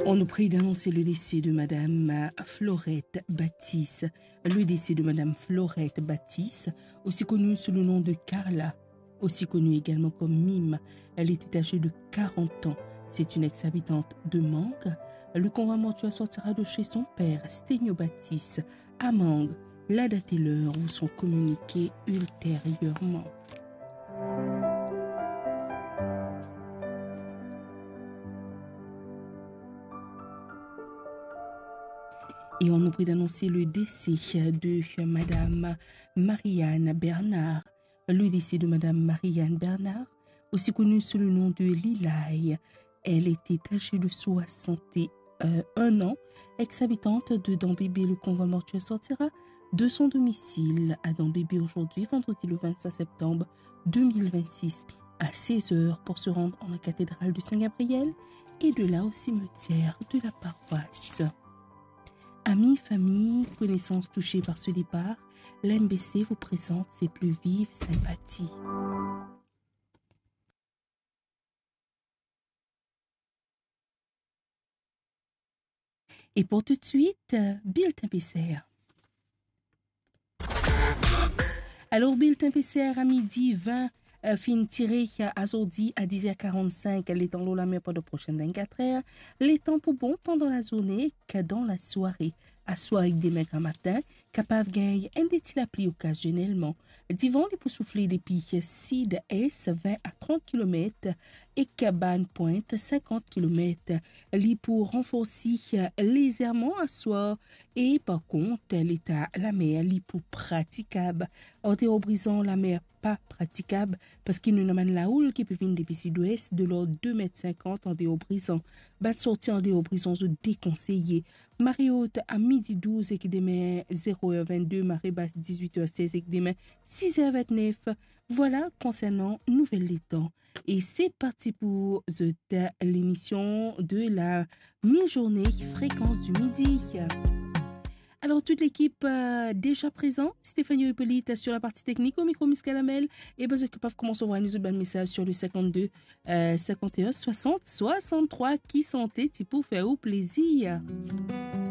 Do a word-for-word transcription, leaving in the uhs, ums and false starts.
On nous prie d'annoncer le décès de Madame Florette Baptiste. Le décès de Madame Florette Baptiste, aussi connue sous le nom de Carla, aussi connue également comme Mime. Elle était âgée de quarante ans. C'est une ex-habitante de Mangue. Le convoi mortuaire sortira de chez son père, Sténio Baptiste, à Mangue. La date et l'heure vous sont communiquées ultérieurement. Et on nous prie d'annoncer le décès de Madame Marianne Bernard. Le décès de Madame Marianne Bernard, aussi connue sous le nom de Lilaï. Elle était âgée de soixante et un ans, ex-habitante de Dambébé. Le convoi mortuaire sortira de son domicile à Dambébé aujourd'hui, vendredi le vingt-cinq septembre deux mille vingt-six, à seize heures pour se rendre en la cathédrale de Saint-Gabriel et de là au cimetière de la paroisse. Amis, famille, connaissances touchées par ce départ, l'M B C vous présente ses plus vives sympathies. Et pour tout de suite, euh, Bulletin P C R. Alor, Bulletin P C R a midi vin, euh, finn tire, euh, azordi a diz er karannsink, letan lor lamer pandan prosin vennkat er. Letan pou bon pandan lazourne ek dan lasware. Aswar ek demin gramatin, kapav gagn enn de ti lapli okazionelman. Divan li pou soufle depi sid-es, vin a trant kilomet, ek bann pwint, sinkant kilomet. Li pou ranforsi lezerman aswar e, par kont, leta lamer li pou pratikab. Andeor Brizan, lamer pa pratikab, parski nou ena bann laoul ki pe vinn depi sidwes, de lord de met sinkant andeor Brizan. Bann sorti andeor Brizan, zot dekonseye. Mare ot a midi douz ek demin zero er vennde, mare bas diz-wit er sez ek demin siz er vennef. Vwala konsernan nouvel letan. E se parti pou zot lemision de la mi-zourne, Fréquence du Midi. Alors, toute l'équipe, euh, déjà présent. Stéphanie Hippolyte sur la partie technique, au micro, Miss Kalamel. E ben, zot kapav koumans anvway nou zot bann mesaz sur le cinquante-deux, euh, cinquante et un, soixante, soixante-trois. Ki sante ti pou fer ou plezir.